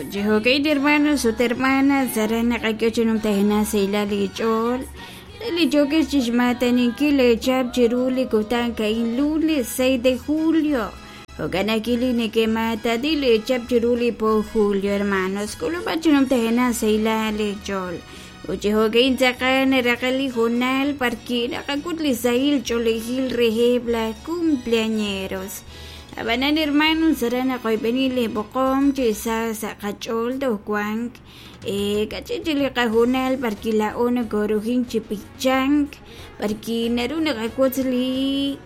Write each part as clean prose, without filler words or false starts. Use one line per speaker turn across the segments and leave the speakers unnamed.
Ut chi jo'ka'in hermanos ut hermanas aran naqak'e chi numtajenaq sahilal li ch'ool re li yookex chixmaataninkil eechap chiru li kutan a'in lunes 6 de julio. Jo'kan ajwi' li neke'maatani leechap chiru li po julio hermanos k'ulub'at chi numtajenaq sahilal leech'ool. Ut chi jo'ka'in tz'aqal naraqe' li hoonal b'arwi' naqak'ut li sahil ch'oolejil reheb' laj cumpleañeros. Ab'anan hermanos aran naqoyb'eni li b'oqom chi sa sa' qach'ool toj wank kach'in chik li qahoonal b'arwi' laa'o nokoorujink chi b'ichank b'arwi' naru naqawotz li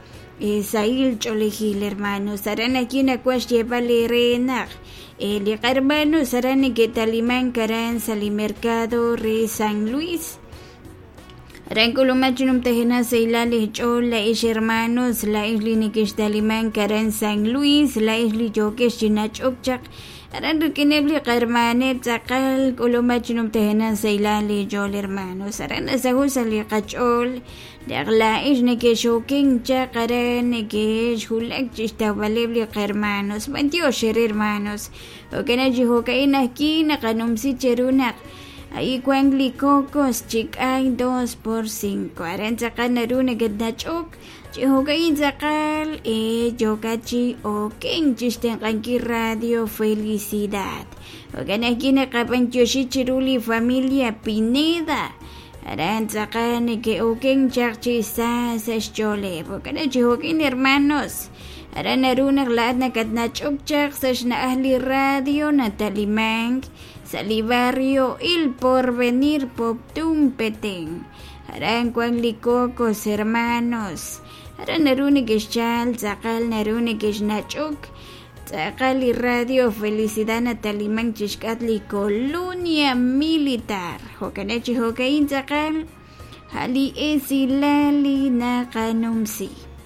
sahil ch'oolejil hermanos. Aran ajwi' nawaj xyeeb'al eere naq li qahermanos aran neke'talimank aran sa' li mercado re San Luis. Aran k'ulumak chi numtajenaq sahilal li ch'ool laa'ex hermanos, laa'ex li nekextalimank aran San Luis, laa'ex li yookex chi nach'ok chaq aran rik'ineb' li qahermaneb' tz'aqal k'ulumak chi numtajenaq sahilal li ch'ool hermanos. Aran nasaho' sa' li qach'ool naq laa'ex nekexoken chaq aran nekexwulak chi xtawb'aleb' li qahermanos. B'antiox eere hermanos. Jo'kan chi jo'ka'in ajwi' naqanumsi cheru naq Ahí wank li cocos chi k'ay 2 por 5. Aran tz'aqal naru neketnach'ok chi jo'ka'in tz'aqal yookat chi okenk chi xtenq'ankil Radio Felicidad. Jo'kan ajwi' naqab'antioxi chiru li familia Pineda. Aran tz'aqal neke'okenk chaq chi sa sa' xch'ooleb'. Jo'kan chi jo'kin hermanos. Aran naru naq laa'at nakatnach'ok chaq sa' xna'aj li radio natalimank sa' li barrio Il Porvenir Poptún Petén. Aran wank li Cocos Hermanos. Aran naru nekexchal tz'aqal naru nekexnach'ok tz'aqal li radio Felicidad natalimank chixk'atq li Colonia Militar. Jo'kan chi jo'ka'in tz'aqal a' li esilal li naqanumsi.